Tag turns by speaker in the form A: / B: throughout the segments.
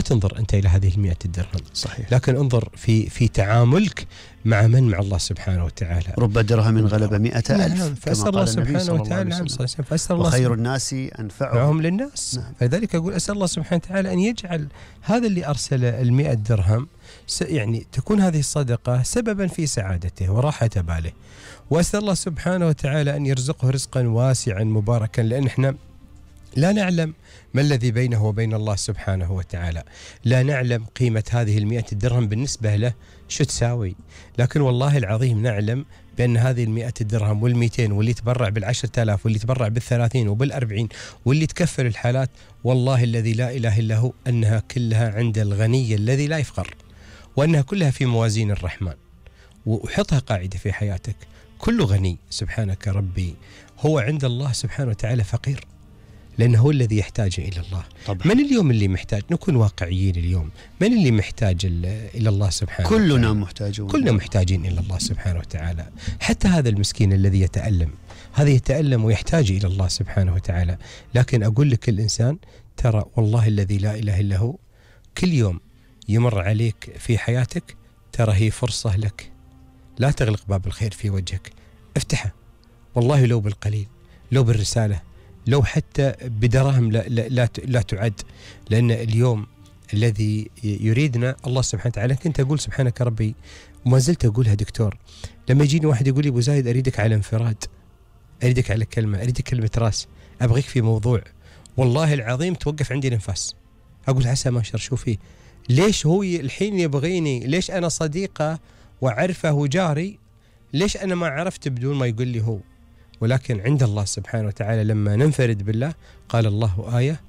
A: تنظر أنت إلى هذه 100 درهم،
B: صحيح.
A: لكن انظر في تعاملك مع الله سبحانه وتعالى.
B: رب درهم غلب 100,000.
A: نعم. فأسأل الله سبحانه وتعالى
B: وخير الناس أنفعهم
A: للناس.
B: نعم.
A: فلذلك أقول أسأل الله سبحانه وتعالى أن يجعل هذا اللي أرسل 100 درهم يعني تكون هذه الصدقة سببا في سعادته وراحة باله. وأسأل الله سبحانه وتعالى أن يرزقه رزقا واسعا مباركا، لأن احنا لا نعلم ما الذي بينه وبين الله سبحانه وتعالى، لا نعلم قيمة هذه 100 درهم بالنسبة له شو تساوي، لكن والله العظيم نعلم بأن هذه 100 درهم وال200 واللي تبرع بال10,000 واللي تبرع بال30 وبال40 واللي تكفل الحالات، والله الذي لا إله إلا هو أنها كلها عند الغني الذي لا يفقر، وأنها كلها في موازين الرحمن. وحطها قاعدة في حياتك، كل غني سبحانك ربي هو عند الله سبحانه وتعالى فقير، لأنه هو الذي يحتاج إلى الله.
B: طبعا.
A: من اليوم اللي محتاج؟ نكون واقعيين اليوم، من اللي محتاج إلى الله سبحانه وتعالى؟
B: كلنا محتاجون،
A: كلنا محتاجين إلى الله سبحانه وتعالى. حتى هذا المسكين الذي يتألم، هذا يتألم ويحتاج إلى الله سبحانه وتعالى. لكن أقول لك الإنسان ترى والله الذي لا إله إلا هو كل يوم يمر عليك في حياتك ترى هي فرصة لك، لا تغلق باب الخير في وجهك، افتحه والله، لو بالقليل، لو بالرسالة، لو حتى بدراهم لا تعد، لأن اليوم الذي يريدنا الله سبحانه وتعالى. كنت أقول سبحانك ربي وما زلت أقولها دكتور، لما يجيني واحد يقول لي أبو زايد أريدك على انفراد، أريدك على كلمة، أريدك كلمة راس، أبغيك في موضوع، والله العظيم توقف عندي الانفاس، أقول عسى ما شر شو فيه، ليش هو الحين يبغيني، ليش أنا صديقه وعرفه وجاري، ليش أنا ما عرفت بدون ما يقول لي هو. ولكن عند الله سبحانه وتعالى لما ننفرد بالله قال الله آية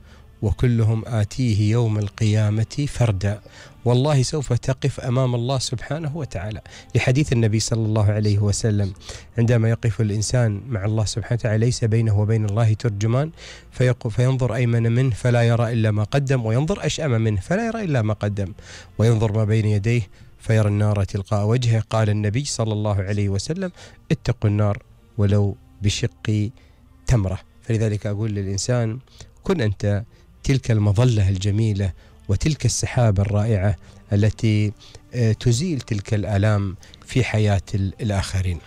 A: وكلهم آتيه يوم القيامة فردا، والله سوف تقف أمام الله سبحانه وتعالى، لحديث النبي صلى الله عليه وسلم عندما يقف الإنسان مع الله سبحانه وتعالى ليس بينه وبين الله ترجمان، فينظر أيمن منه فلا يرى إلا ما قدم، وينظر أشأم منه فلا يرى إلا ما قدم، وينظر ما بين يديه فيرى النار تلقاء وجهه. قال النبي صلى الله عليه وسلم اتقوا النار ولو بشق تمرة. فلذلك أقول للإنسان كن أنت تلك المظلة الجميلة وتلك السحابة الرائعة التي تزيل تلك الآلام في حياة الآخرين.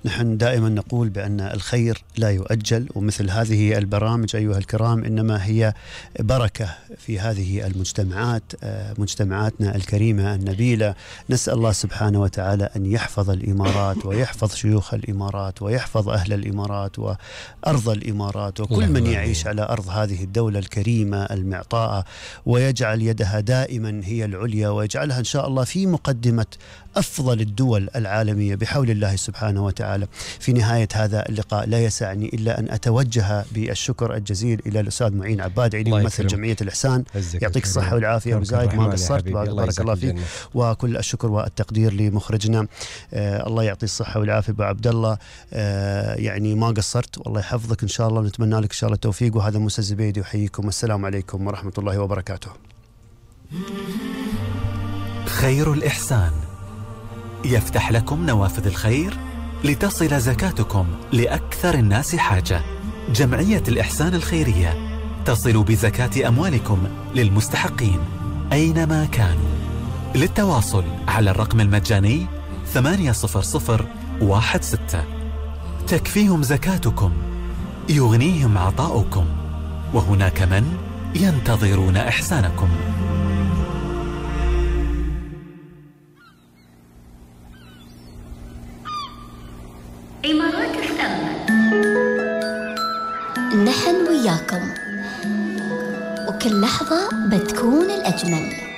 B: نحن دائما نقول بأن الخير لا يؤجل، ومثل هذه البرامج أيها الكرام إنما هي بركة في هذه المجتمعات، مجتمعاتنا الكريمة النبيلة. نسأل الله سبحانه وتعالى أن يحفظ الإمارات ويحفظ شيوخ الإمارات ويحفظ أهل الإمارات وأرض الإمارات وكل من يعيش على أرض هذه الدولة الكريمة المعطاءة، ويجعل يدها دائما هي العليا، ويجعلها إن شاء الله في مقدمة أفضل الدول العالمية بحول الله سبحانه وتعالى. في نهاية هذا اللقاء لا يسعني إلا أن أتوجه بالشكر الجزيل إلى الأستاذ معين عباد علي ممثل جمعية الإحسان. يعطيك الصحة والعافية أبو زايد، ما قصرت، بارك الله فيك. وكل الشكر والتقدير لمخرجنا، الله يعطي الصحة والعافية أبو عبد الله، يعني ما قصرت، والله يحفظك إن شاء الله، ونتمنى لك إن شاء الله التوفيق. وهذا موسى الزبيدي يحييكم، والسلام عليكم ورحمة الله وبركاته.
C: خير الإحسان يفتح لكم نوافذ الخير لتصل زكاتكم لأكثر الناس حاجة. جمعية الإحسان الخيرية تصل بزكاة أموالكم للمستحقين أينما كانوا. للتواصل على الرقم المجاني 80016. تكفيهم زكاتكم، يغنيهم عطاؤكم، وهناك من ينتظرون إحسانكم.
D: إمارات FM، نحن وياكم، وكل لحظة بتكون الأجمل.